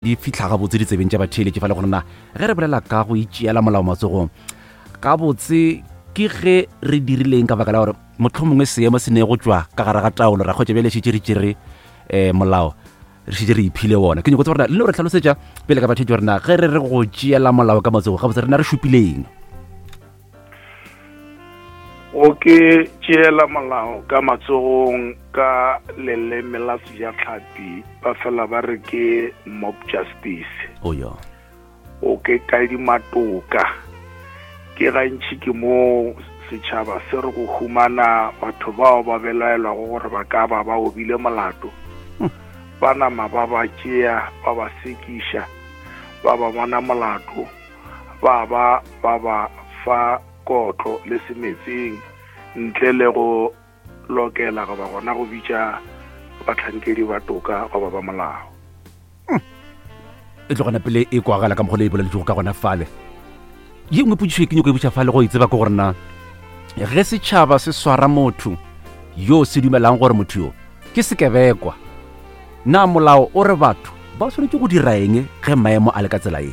Di fihla gabotse ditsebeng tša batheeletši fa le gore na ge re bolela ka go itšeela molao matsogong gabotse ke ge re dirileng ka baka la gore mohlomongwe seemo se ne go tšwa ka gare ga taolo ra kgotša bjale šetše re tšere um molao re šetše re iphile wona. Ke nyako tseba gore na le no re hlalosetša pele ka batheetši gore na ge re re go tšeela molao ka matsogo gabotse rena re šupileng. Go ke tšeela molao ka matsogong ka leleme la sejatlhapi ba fela ba re ke mob justice. Oh ya. O ke kadima toka. Ke gantši ke mo setšhaba se re go humana batho bao ba belaelwago gore ba ka ba ba obile molato. Ba nama ba ba tšea ba ba sekiša ba ba bona molato. Ba ba ba ba fa kotlo le semetseng ntle le go lokela goba gona go bitša bahlankedi ba toka goba ba molao. Hmm. E tlogana pele e kwagala ka mokgwa le e boleletšego ka gona fale. Ye nngwe potšišo e ke nyako e botša fale go e tseba ke gore na ge setšhaba se swara motho yo se dumelang gore motho yo ke sekebekwa, na molao o re batho ba swanetše go dira eng ge maemo a le ka tsela ye?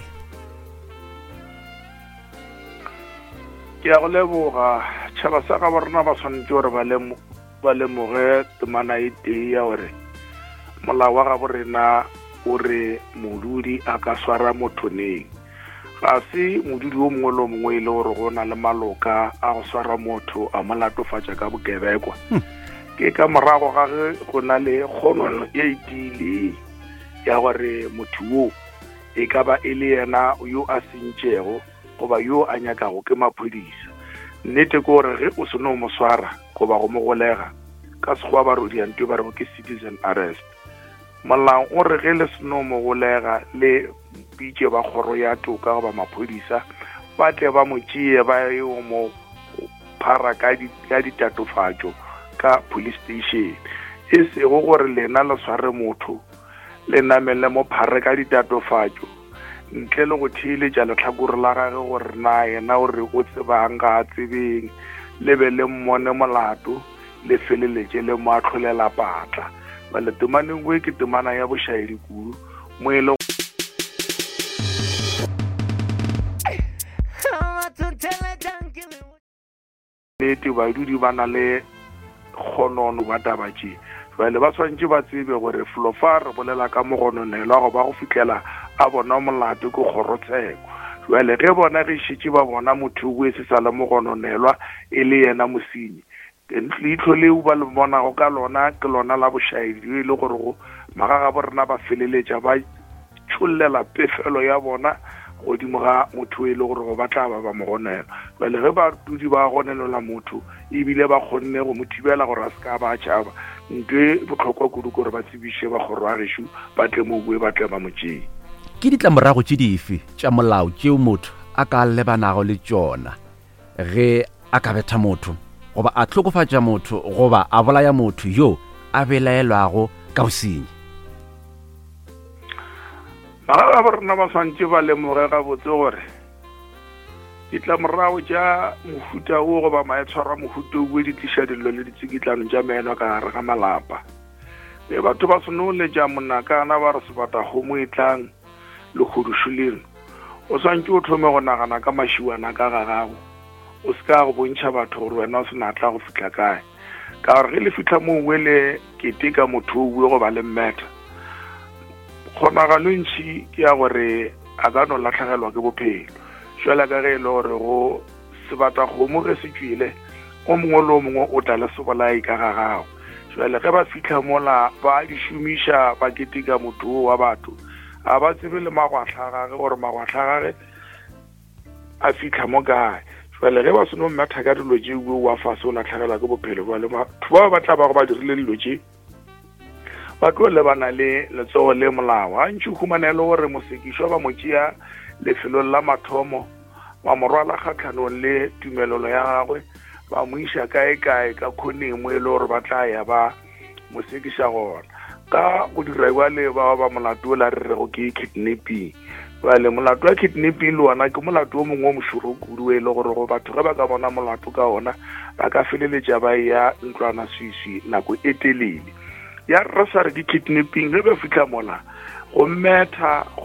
Ke a go leboga. Tšhaba sa gabo rena ba swanetše gore ba lemoge temana e tee ya gore molao wa gabo rena o re modudi a ka swara motho neng. Ga se modudi o mongwe le o mongwe e le gore go na le maloka a go swara motho a mo latofatša ka bokebekwa. Hmm. Ke ka morago ga ge go na le kgonono e e tiileng ya gore motho wo e ka ba e le yena yo a sentšego goba yo a nyakago ke maphodisa. Nnete ke gore ge o se no mo swara goba go mo golega, ka Sekgowa ba re o dia nto e ba rego ke citizen arrest. Molao o re ge le se no mo golega le bitše ba kgoro ya toka goba maphodisa ba tle ba mo tšee ba yo mo phara ka ditatofatšo ka police station. E sego gore lena le sware motho le name le mo phare ka ditatofatšo ntle le go theeletša lehlakore la gage gore na yena o re o tsebang ga a tsebeng, le be le mmone molato le feleletše le mo ahlolela patla. Bjale temaneng e ke temana ya bošaedi kudu mo e le Nnete, badudi ba na le kgonono ba taba tše. Bjale ba swanetše ba tsebe gore felo fa re bolela ka mogononelwa goba go fihlela a bona molato ke kgorotsheko. Bjale ge bona ge šetše ba bona motho o e se sa le mogononelwa e le yena mosenyi, Leihlo leo ba le bonago ka lona ke lona la bošaedi bjo e le gorego magagabo rena ba feleletša ba tšhollela pefelo ya bona godimo ga motho e le gorego ba tla ba ba mo gonela. Bjale ge badudi ba gonelelwa motho ebile ba kgonne go mo thibela gore a se ka ba a tšhaba, nto e bohlokwa kudu ke gore ba tsebiše ba kgoro ya gešo ba tle mo bue ba tle ba mo tšee. Ke ditlamorago tše dife tša molao tšeo motho a ka lebanago le tšona ge a ka betha motho goba a hlokofatša motho goba a bolaya motho yo a belaelwago ka bosenyi. Bagagabo rena ba swanetše ba lemoge gabotse gore ditlamorago tša mohuta wo goba maitshwaro a mohuta wo di tliša dillo le ditsikitlano tša meno ka gare ga malapa. Ge batho ba seno letša monakana ba re sebatakgomo e tlang, Legodušu leno, o swantše o thome go nagana ka mašiwana ka ga gago. O se ka go bontšha batho gore wena o senatla go fihla kae. Ka gore ge le fihla moo we le keteka motho o we goba le mmetha, kgonagalo e ntši ke ya gore a ka no lahlegelwa ke bophelo. Jwale ka ge e le gore go Sebatakgomo ge se tšwele, o mongwe le o mongwe o tla le sebolai ka ga gagwe. Jwale ge ba fihla mola ba di šomiša ba keteka motho wo wa batho, ga ba tsebe le magwahla a gage gore magwahla a gage a fihla mo kae. Jwale ge ba seno mmetha ka dilo tše, o wa fase o lahlegelwa ke bophelo. Jwale batho bao ba tla bago ba dirile dilo tše ba tlo lebana le letsogo le molao. Gantši o humana e le gore mosekišwa ba mo tšea lefelong la mathomo, ba mo rwala kgahlanong le tumelelo ya gagwe, ba mo iša kae-kae ka khoneng mo e le gore ba tla ya ba mo sekiša gona. Ka go dira bjale ba ba molato o la re rego ke kidnapping. Bjale molato wa kidnapping le wona ke molato o mongwe o mošoro kudu e le gore go batho ge ba ka bona molato ka ona ba ka feleletša ba eya ntlwana swiswi nako e telele. Ya re sa re ke kidnapping ge ba fihla mola. Go metha.